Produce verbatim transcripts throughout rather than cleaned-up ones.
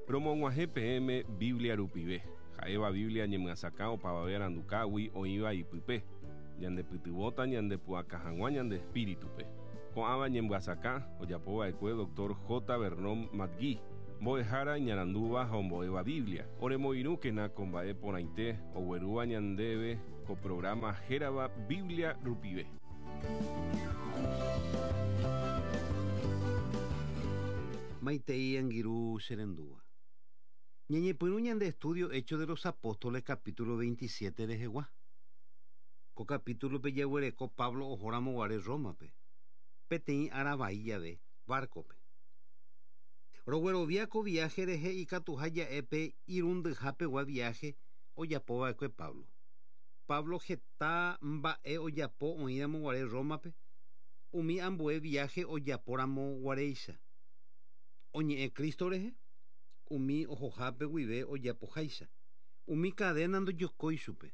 Romog̃uahẽ peẽme Biblia rupive, ha'éva Biblia ñemyasakã opavave arandukágui oĩva ipype, ñandepytyvõta ñandepu'aka hag̃ua ñande espíritupe. Ko'ãva ñemyasakã ojapova'ekue doctor J. Vernon McGee, mbo'ehára iñarandúva ha ombo'éva Biblia. Oremoirũkena ko mba'e porãite oguerúva ñandéve ko programa hérava Biblia rupive. Maitei angirũ cherendúva. Ñañepyrũ ñande estudio Hechos de los Apóstoles capítulo veintisiete rehegua. Ko capítulo-pe jaguereko Pablo ohoramoguare Roma-pe, peteĩ aravai jave barco-pe. Roguerovia ko viaje rehe ikatuha ja'épe irundyhapegua viaje ojapova'ekue Pablo. Pablo heta mba'e ojapo oĩramoguare Roma-pe, umi ambue viaje ojaporamoguaréicha. Oñe'ẽ Cristo rehe, umi ohohápe guive ojapoháicha, umi cadena ndojokói chupe.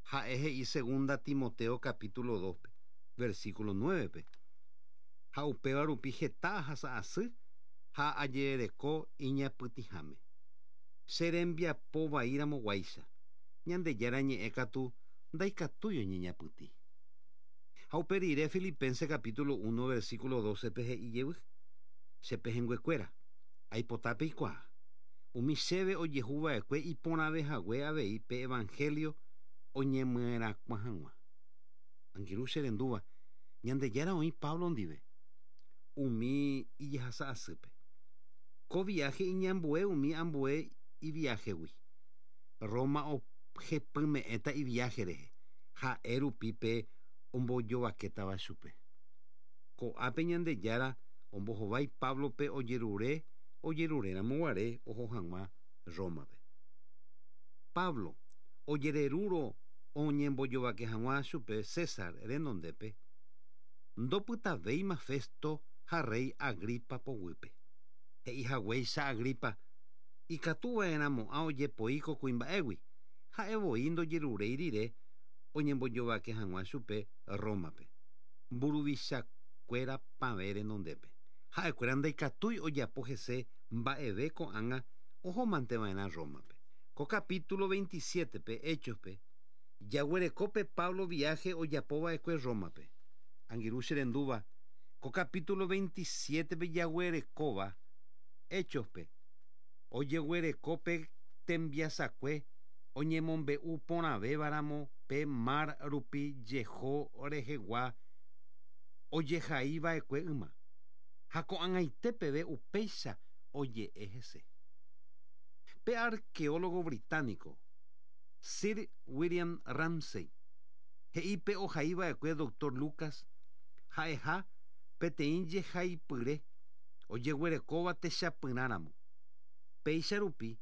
Ha'e he'i segunda Timoteo capítulo dos-pe, versículo nueve-pe. Ha upéva rupi heta ahasa'asy ha ajerereko iñapytĩháme. Che rembiapo vaíramoguáicha, Ñandejára ñe'ẽ katu ndaikatúi oñeñapytĩ. Ha upe rire Filipenses capítulo uno versículo doce-pe he'i jevy. Che pehẽnguekuéra, aipotápe ikuaa. Umi chéve ojehuva'ekue iporãvehague avei pe evangelio oñemyerakuã hag̃ua. Angirũ cherendúva, Ñandejára oĩ Pablo ndive, umi ijehasa'asýpe. Ko viaje iñambue umi ambue iviajegui. Roma ojepyme'ẽta iviaje rehe, ha'e rupi pe ombojovakétava chupe. Ko'ápe Ñandejára ombohovái Pablo-pe ojerure ojerureramoguare oho hag̃ua Roma-pe. Pablo ojererúrõ oñembojovake hag̃ua chupe César renondépe, ndopytavéima Festo ha rey Agripa poguýpe. He'ihaguéicha Agripa ikatuva'erãmo'ã ojepoi ko kuimba'égui, ha'evoi ndojeruréi rire oñembojovake hag̃ua chupe Roma-pe, mburuvichakuéra pavẽ renondépe. Ha'ekuéra ndaikatúi ojapo hese mba'eve ko'ág̃a ohomanteva'erã Roma-pe. Ko capítulo veintisiete-pe Hechos-pe, jaguerekópe Pablo viaje ojapova'ekue Roma-pe. Angirũ cherendúva, ko capítulo veintisiete-pe jaguerekóva Hechos-pe, ojeguerekópe tembiasakue oñemombe'u porãvévaramo pe mar rupi jeho rehegua ojehaiva'ekue yma. Ha ko'ag̃aite peve upéicha oje'e hese. Pe arqueólogo británico Sir William Ramsay he'i pe ohaiva'ekue doctor Lucas ha'eha peteĩ jehaipyre ojeguerekóva techapyrãramo. Péicha rupi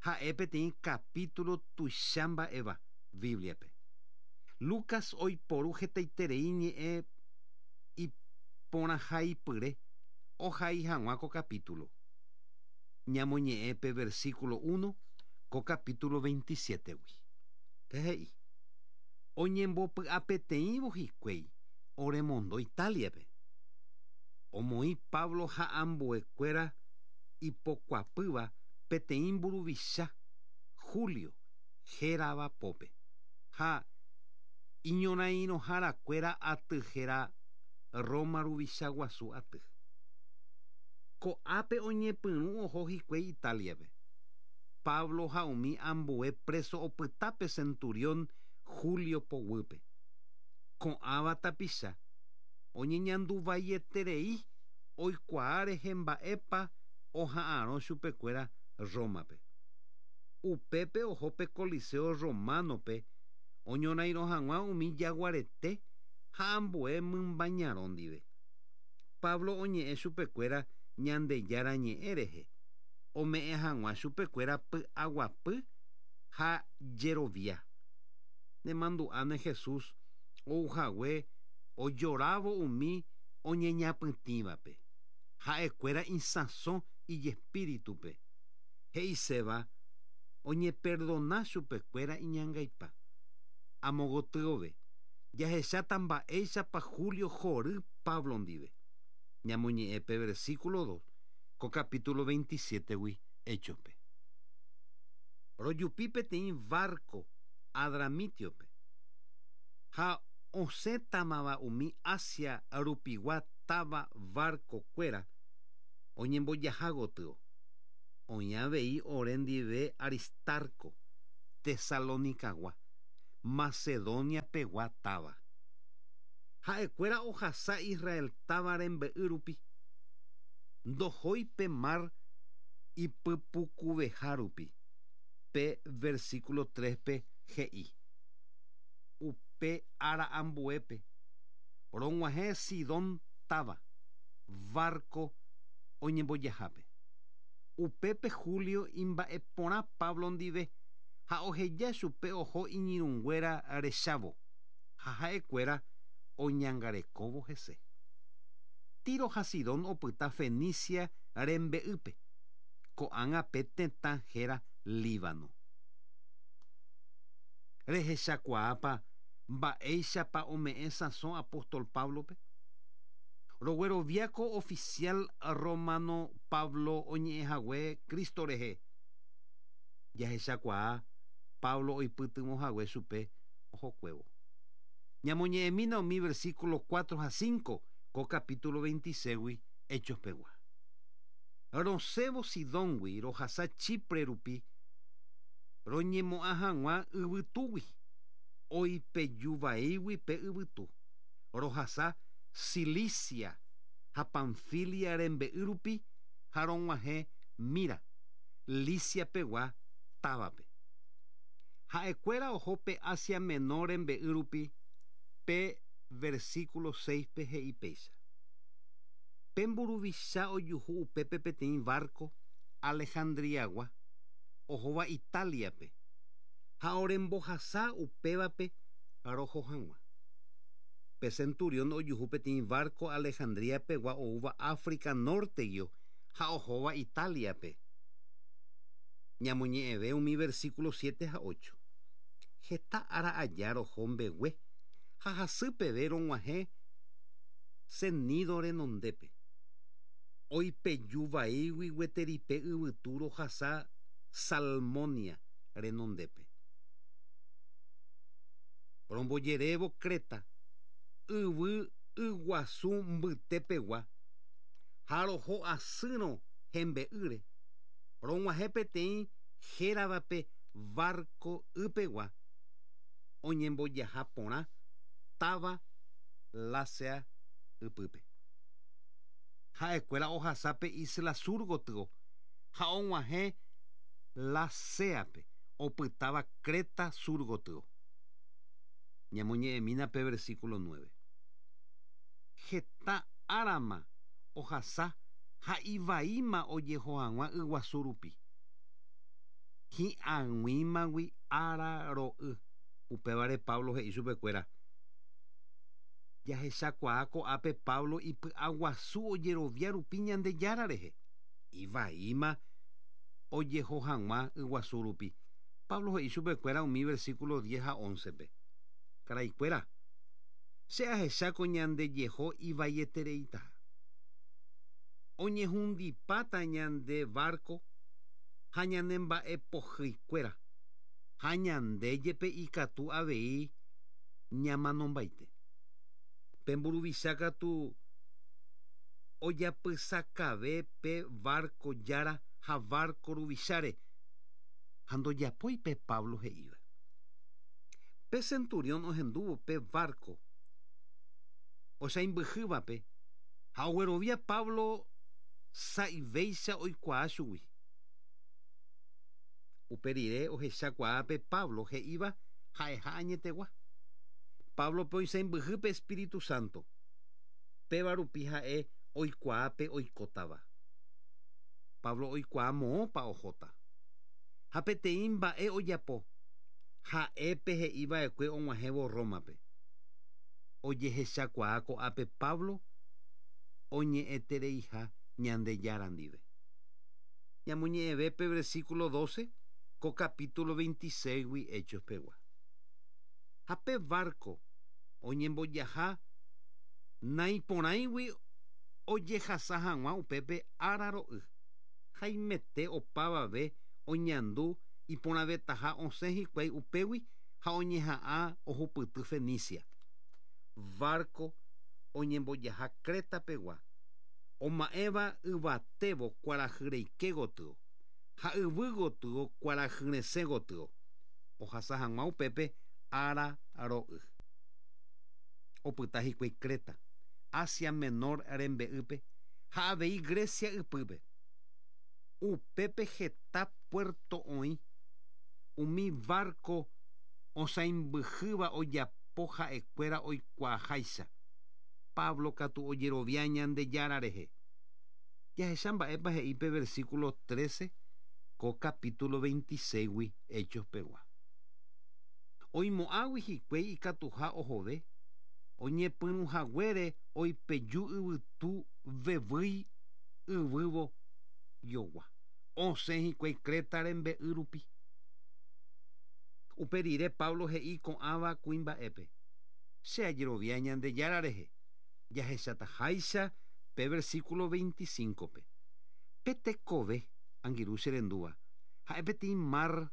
ha'e peteĩ capítulo tuicha mba'éva Biblia-pe. Lucas oiporu hetaiterei ñe'ẽ iporãhaipyre ohai hag̃ua ko capítulo. Ñamoñe'ẽ pe versículo uno ko capítulo veintisiete-gui. Pe he'i, oñembopy'apeteĩvo hikuái oremondo Italia-pe. Omoĩ Pablo ha ambuekuéra ipokuapýva peteĩ mburuvicha Julio hérava pópe ha iñorairõharakuéra aty héra Roma ruvicha guasu aty. Ko'ápe oñepyrũ oho hikuái Italia-pe. Pablo ha umi ambue preso opytápe centurión Julio poguýpe. Ko'ãva tapicha oñeñanduvaieterei oikuaa rehe mba'épa oha'arõ chupekuéra Roma-pe. Upépe oho pe Coliseo Romano-pe oñorairõ hag̃ua umi jaguarete ha ambue mymbañarõ ndive. Pablo oñe'ẽ chupekuéra Ñandejára ñe'ẽ rehe, ome'ẽ hag̃ua chupekuéra py'aguapy ha jerovia. Nemandu'áne Jesús ouhague ojorávo umi oñeñapytĩvape. Ha'ekuéra isãso ijespíritupe. He'iséva oñeperdona chupekuéra iñangaipa. Amogotyove, jahecháta mba'éichapa Julio hory Pablo ndive. Ñamoñe'ẽ pe versículo dos, ko capítulo veintisiete-gui Hechospe. Rojupi peteĩ barco Adramitiope ha osẽtamava umi Asia rupigua táva barco-kuéra oñembojaha gotyo. Oĩ avei ore ndive Aristarco, Tesalonicagua, Macedonia pegua táva. Ha'ekuéra ohasa Israel táva rembe'y rupi. Ndohói pe mar ipypukuveha rupi. Pe versículo tres-pe he'i. Upe ára ambuépe rog̃uahẽ Sidón táva, barco oñembojahápe. Upépe Julio imba'eporã Pablo ndive ha oheja chupe oho iñirũnguéra rechávo ha ha'ekuéra oñangarekóvo hese. Tiro ha Sidón opyta Fenicia rembe'ýpe. Ko'ág̃a pe tetã héra Líbano. Rehechakuaápa mba'éichapa ome'ẽ sãso apóstol Pablope. Rogueroviáko oficial romano Pablo oñe'ẽhague Cristo rehe. Jahechakuaa Pablo oipytyvõhague chupe ohokuévo. Ñamoñe'ẽmína umi versículo cuatro ha cinco ko capítulo veintiséis Hechos pegua. Rosẽvo Sidóngui rohasa Chipre rupi roñemo'ã hag̃ua yvytúgui oipejuvaígui pe yvytu. Rohasa Cilicia ha Panfilia rembe'y rupi ha rog̃uahẽ Mira, Licia pegua távape. Ha'ekuéra oho pe Asia Menor rembe'y rupi pe versículo seis-pe he'i péicha. Pe mburuvicha ojuhu upépe peteĩ barco Alejandriagua ohóva Italiape ha orembohasa upévape roho hag̃ua. Pe centurión ojuhu peteĩ barco Alejandria pegua oúva África norteguio ha ohóva Italiape. Ñamoñe'ẽve umi versículo siete ha ocho. Heta ára aja roho mbegue ha hasypeve rog̃uahẽ Cnido renondépe. Oipejuvaígui gueteri pe yvytu rohasa Salmonia renondépe. Rombojerévo Creta, yvy yguasu mbytépegua ha roho asýrõ hembe'ýre. Rog̃uahẽ peteĩ héravape barco ypegua oñembojaha porã táva Lasea ypýpe. Ha'ekuéra ohasa pe isla sur gotyo ha og̃uahẽ Laséape opytáva Creta sur gotyo. Ñamoñe'ẽmína pe versículo nueve. Heta árama ohasa ha ivaíma ojeho hag̃ua yguasu rupi. Hi'ag̃uímagui ára ro'y. Upévare Pablo he'i chupekuéra. Jahechakuaa ko'ápe Pablo ipy'aguasu ojerovia rupi Ñandejára rehe. Ivaíma ojeho hag̃ua yguasu rupi. Pablo he'i chupekuéra umi versículo diez ha once-pe. Karaikuéra, che ahecháko ñandejeho ivaietereitaha. Oñehundipáta ñande barco ha ñanemba'epohýikuéra ha ñande jepe ikatu avei ñamanombaite. Pe mburuvicha katu ojapysakave pe barco jára ha barco ruvicháre ha ndojapói pe Pablo he'íva. Pe centurión ohendúvo pe barco osaimbyhývape ha oguerovia Pablo sa'ivéicha oikuaa chugui. Upe rire ohechakuaa pe Pablo he'íva ha'eha añetegua. Pablo pe oisãmbyhy pe Espíritu Santo. Péva rupi ha'e oikuaa pe oikótava. Pablo oikuaa moõpa ohóta. Ha peteĩ mba'e ojapo. Ha'épe he'iva'ekue og̃uahẽvo Rómape. Ojehechakuaa ko'ápe Pablo oñe'ẽtereiha Ñandejára ndive. Ñamoñe'ẽve pe versículo doce ko capítulo veintiséis-gui Hechos pegua. Ha pe barco oñembojaha naiporãigui ojehasa hag̃ua upépe ára ro'y. Haimete opavave oñandu iporãvetaha osẽ hikuái upégui ha oñeha'ã ohupyty Fenicia. Barco oñembojaha Creta pegua. Oma'ẽva yvatévo kuarahyreike gotyo ha yvy gotyo kuarahyresẽ gotyo. Ohasa hag̃ua upépe ára ro'y. Opyta hikuái Creta, Asia Menor rembe'ýpe ha avei Grecia ypýpe. Upépe heta puerto oĩ umi barco osãimbyhýva ojapo ha'ekuéra oikuaaháicha. Pablo katu ojerovia Ñandejára rehe. Jahecha mba'épa he'i pe versículo trece ko capítulo veintiséis Hechos pegua. Oimo'ãgui hikuái ikatuha ohove, oñepyrũhaguére oipeju yvytu vevýi yvývo jogua. Osẽ hikuái Creta rembe'y rupi. Upe rire Pablo he'i ko'ãva kuimba'épe. Che ajerovia Ñandejára rehe. Jahechataháicha pe versículo veinticinco-pe. Pe tekove angirũ che rendúva ha'e peteĩ mar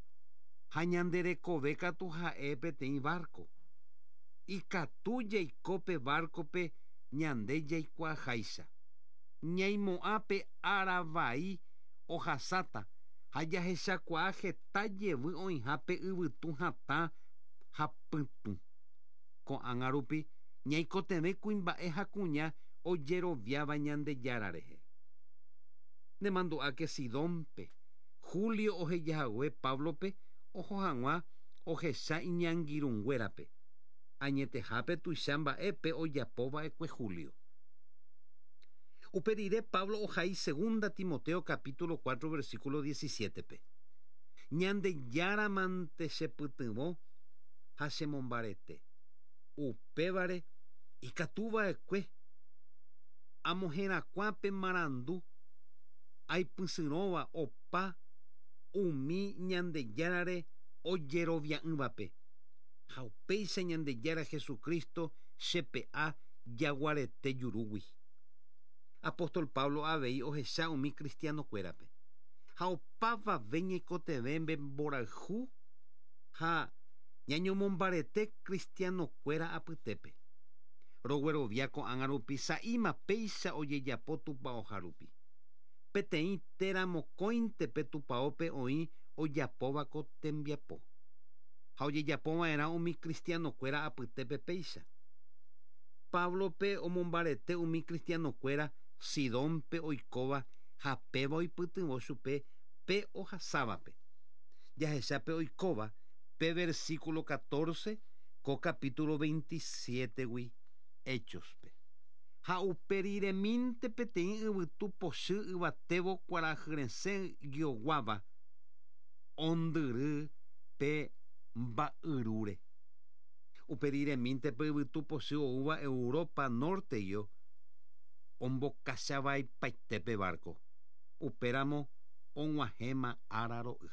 ha ñande rekove katu ha'e peteĩ barco. Ikatu jaiko pe barco-pe ñande jaikuaaháicha. Ñaimo'ã pe ára vai ohasáta ha jahechakuaa heta jevy oĩha pe yvytu hatã ha pytũ. Ko'ág̃a rupi ñaikotevẽ kuimba'e ha kuña ojeroviáva Ñandejára rehe. Nemandu'áke Sidónpe Julio ohejahague Pablope oho hag̃ua ohecha iñangirũnguérape. Añetehápe tuicha mba'épe ojapova'ekue Julio. Upe rire Pablo ohai segunda Timoteo capítulo cuatro versículo diecisiete-pe. Ñandejára mante chepytyvõ ha chemombarete. Upévare ikatuva'ekue amoherakuã pe marandu aipysyrõva opa umi Ñandejárare ojerovia'ỹvape. Ha upéicha Ñandejára Jesucristo chepe'a jaguarete jurúgui. Apóstol Pablo avei ohecha umi cristiano-kuérape. Ha opavave ñaikotevẽ mborayhu ha ñañomombarete cristiano-kuéra apytépe. Roguerovia ko'ág̃a rupi sa'íma péicha ojejapo tupãoha rupi. Peteĩ térã mokõinte pe tupãópe oĩ ojapóva ko tembiapo. Ha ojejapova'erã umi cristiano-kuéra apytépe péicha. Pablope omombarete umi cristiano-kuéra Sidónpe oikóva ha péva oipytyvõ chupe pe ohasávape. Jahecha pe oikóva pe versículo catorce ko capítulo veintisiete-gui Hechos-pe. Ha uperiremínte peteĩ yvytu pochy yvatévo kuarahyresẽ guioguáva ondyry pe mba'yrúre. Uperiremínte pe yvytu pochy oúva Europa norte-guio ombokachavaipaite pe barco. Upéramo og̃uahẽma ára ro'y.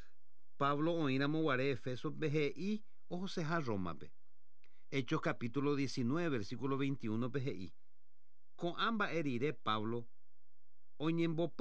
Pablo oĩramo guare Efesope he'i ohoseha Rómape. Hechos capítulo diecinueve versículo veintiuno-pe he'i. Ko'ã mba'e rire Pablo oñembopy